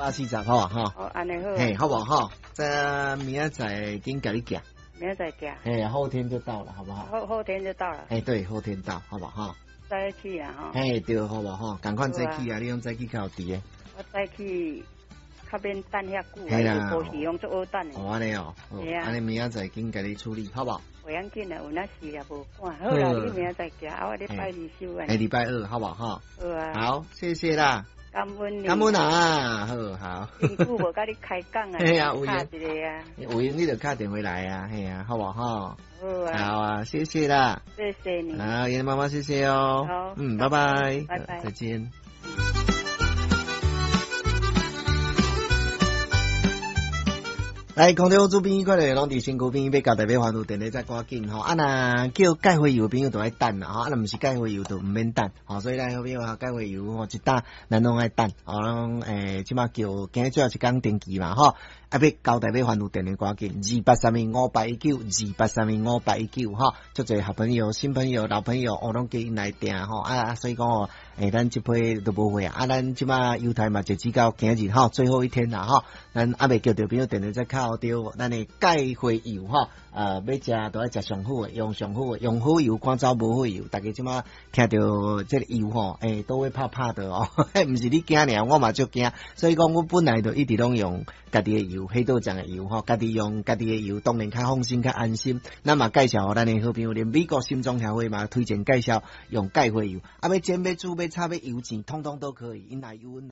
140好啊吼。好，按呢好。嘿，好無吼？這明仔載緊共你寄。明仔載寄。嘿，後天就到了，好不好？後天就到了。哎，對，後天到，好不好？早起啊，吼。嘿，對，好無吼？仝款早起啊，你攏早起較有佇的。我早起較免等遐久，嘿啦，無時攏足好等的。哦，按呢哦，按呢明仔載緊共你處理，好無？袂要緊啦，有那事也無趕。好啦，你明仔載寄，啊，我禮拜二收啊。欸，禮拜二，好無吼？好啊。好，謝謝啦。感恩你。感恩啊，好好。真久無佮你開講啊，嘿啊，有閒一個啊。有閒你就敲電話來啊，嘿啊，好無吼？好啊。好啊，謝謝啦。謝謝你。好，妍媽媽，謝謝哦。好。嗯，拜拜。拜拜。再見。來，空中主編快樂攏佇身軀邊，欲交代欲還有電話再趕緊吼。啊，若叫蓋回油的朋友就愛等啦吼，啊，若毋是蓋回油就毋免等吼。所以咱好朋友哈，蓋回油吼，一打咱攏愛等吼，攏欸，這馬叫今日最後一工登記嘛吼。啊，欲交代欲還有電話趕緊，28325819，28325819吼。足濟好朋友、新朋友、老朋友，哦，攏叫𪜶來訂吼。啊，所以講哦，欸，咱這批都無貨啊。啊，咱這馬猶太嘛，截止到今日吼，最後一天啦吼。咱猶未叫著朋友電話再敲著咱的蓋花油吼，欲食都愛食上好的，用上好的，用好油趕走無好油。大家這馬聽著這個油吼，欸，都會怕怕的哦。毋是你驚爾，我嘛足驚。所以講，我本來就一直攏用家己的油，黑豆醬的油吼，家己用家己的油，當然較放心、較安心。咱嘛介紹予咱的好朋友，連美國心臟協會嘛推薦介紹用蓋花油。啊，欲煎、欲煮、欲炒、欲油煎，通通都可以。𪜶來油溫。